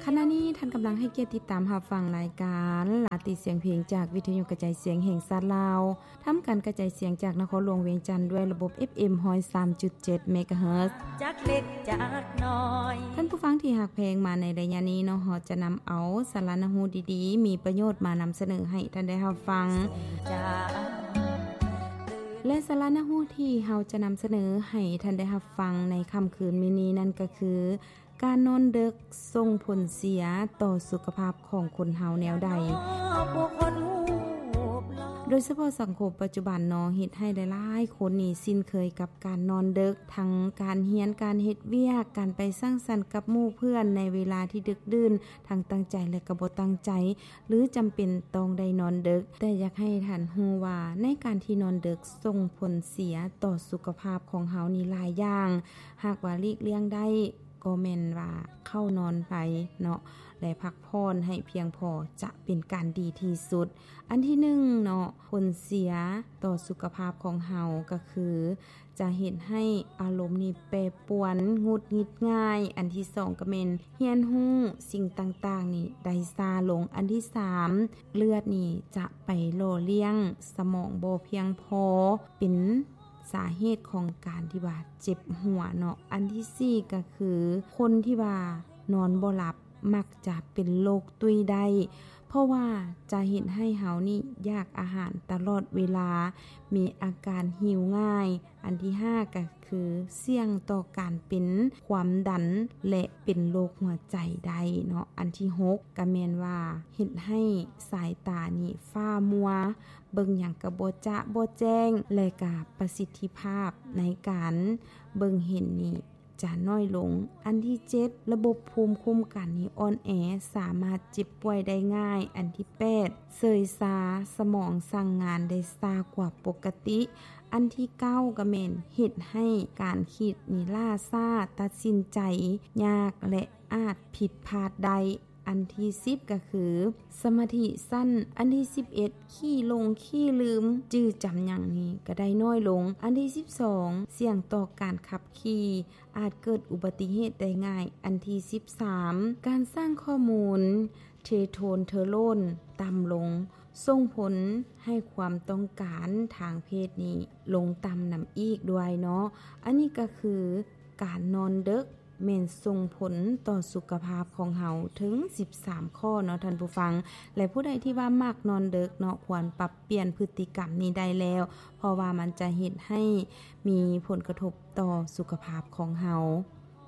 ຂະນະນີ້ທ່ານກຳລັງໃຫ້ກຽດຕິດຕາມຮັບຟັງລາຍການລາຕີສຽງເພງ ຈາກວິທະຍຸກະຈາຍສຽງແຫ່ງຊາດລາວ, ທຳການກະຈາຍສຽງຈາກນະຄອນຫຼວງວຽງຈັນ ດ້ວຍລະບົບ ເອັຟເອັມ ຮ້ອຍສາມຈຸດເຈັດ ເມກາເຮີດ. ຈາກເລັກຈາກນ້ອຍ ທ່ານຜູ້ຟັງທີ່ຮັກແພງ, ມາໃນໄລຍະນີ້ເນາະ, ເຮົາຈະນຳເອົາສາລະໜ້າຮູ້ດີໆ ມີປະໂຫຍດມານຳສະເໜີໃຫ້ທ່ານໄດ້ຮັບຟັງ. ແລະ ສາລະໜ້າຮູ້ທີ່ເຮົາຈະນຳສະເໜີໃຫ້ທ່ານໄດ້ຮັບຟັງໃນຄ່ຳຄືນມື້ນີ້ນັ້ນກໍຄື ການນອນເດິກສົ່ງຜົນເສຍຕໍ່ສຸຂະພາບຂອງຄົນເຮົາແນວໃດ? ໂດຍສະເພາະສັງຄົມປັດຈຸບັນເນາະ ເຮັດໃຫ້ຫຼາຍໆຄົນນີ້ຊິນເຄີຍກັບການນອນເດິກ, ທັງການຮຽນ, ການເຮັດວຽກ, ການໄປສັງສັນກັບໝູ່ເພື່ອນໃນເວລາທີ່ດຶກດື່ນ, ທັງຕັ້ງໃຈ ແລະ ກໍບໍ່ຕັ້ງໃຈ ຫຼື ຈຳເປັນຕ້ອງໄດ້ນອນເດິກ. ແຕ່ຢາກໃຫ້ທ່ານຮູ້ວ່າ ໃນການທີ່ນອນເດິກສົ່ງຜົນເສຍຕໍ່ສຸຂະພາບຂອງເຮົານີ້ຫຼາຍຢ່າງ. ຫາກວ່າຫຼີກລ່ຽງໄດ້ ກໍແມ່ນວ່າເຂົ້ານອນໄປເນາະ ແລະ ພັກຜ່ອນໃຫ້ພຽງພໍ ຈະເປັນການດີທີ່ສຸດ. ອັນທີໜຶ່ງເນາະ, ຜົນເສຍຕໍ່ສຸຂະພາບຂອງເຮົາກໍຄື ຈະເຮັດໃຫ້ອາລົມນີ້ແປປວນ, ຫງຸດຫງິດງ່າຍ. ອັນທີສອງກໍແມ່ນຮຽນຮູ້ສິ່ງຕ່າງໆນີ້ໄດ້ຊ້າລົງ. ອັນທີສາມ ເລືອດນີ້ຈະໄປຫຼໍ່ລ້ຽງສະໝອງບໍ່ພຽງພໍ, ເປັນ ສາເຫດຂອງການທີ່ວ່າເຈັບຫົວເນາະ. ອັນທີສີ່ກໍຄື ຄົນທີ່ວ່ານອນບໍ່ຫຼັບມັກຈະເປັນໂລກຕຸ້ຍໄດ້ ເພາະວ່າຈະເຮັດໃຫ້ເຮົານີ້ຢາກອາຫານຕະຫຼອດເວລາ, ມີອາການຫິວງ່າຍ. ອັນທີຫ້າກໍຄືສ່ຽງຕໍ່ການເປັນຄວາມດັນ ແລະ ເປັນໂລກຫົວໃຈໄດ້ເນາະ. ອັນທີຫົກກໍແມ່ນວ່າເຮັດໃຫ້ສາຍຕານີ້ຟ້າມົວ, ເບິ່ງຫຍັງກໍບໍ່ຈະບໍ່ແຈ້ງ ແລະ ກະປະສິດທິພາບໃນການເບິ່ງເຫັນນີ້ຈະນ້ອຍລົງ. ອັນທີເຈັດ ລະບົບພູມຄຸ້ມກັນນີ້ອ່ອນແອ, ສາມາດເຈັບປ່ວຍໄດ້ງ່າຍ. ອັນທີແປດ ເຊີຍຊາ, ສະໝອງສັ່ງງານໄດ້ຊ້າກວ່າປົກກະຕິ. ອັນທີເກົ້າ ກໍແມ່ນເຮັດໃຫ້ການຄິດນີ້ລ້າຊ້າ, ຕັດສິນໃຈຍາກ ແລະ ອາດຜິດພາດໄດ້. ອັນທີສິບກໍຄືສະມາທິສັ້ນ. ອັນທີສິບເອັດ ຂີ້ຫຼົງຂີ້ລືມ, ຈື່ຈຳຫຍັງນີ້ກໍໄດ້ນ້ອຍລົງ. ອັນທີສິບສອງ ສ່ຽງຕໍ່ການຂັບຂີ່, ອາດເກີດອຸບັດຕິເຫດໄດ້ງ່າຍ. ອັນທີສິບສາມ ການສ້າງຂໍ້ມູນເທໂທນເທີໂລນຕ່ຳລົງ, ສົ່ງຜົນໃຫ້ຄວາມຕ້ອງການທາງເພດນີ້ລົງຕ່ຳນຳອີກດ້ວຍເນາະ. ອັນນີ້ກໍຄື ການນອນເດິກແມ່ນສົ່ງຜົນຕໍ່ສຸຂະພາບຂອງເຮົາເຖິງສິບສາມຂໍ້ເນາະທ່ານຜູ້ຟັງ. ແລະ ຜູ້ໃດທີ່ວ່າມັກນອນເດິກເນາະ ຄວນປັບປ່ຽນພຶດຕິກຳນີ້ໄດ້ແລ້ວ, ເພາະວ່າມັນຈະເຮັດໃຫ້ມີຜົນກະທົບຕໍ່ສຸຂະພາບຂອງເຮົາ.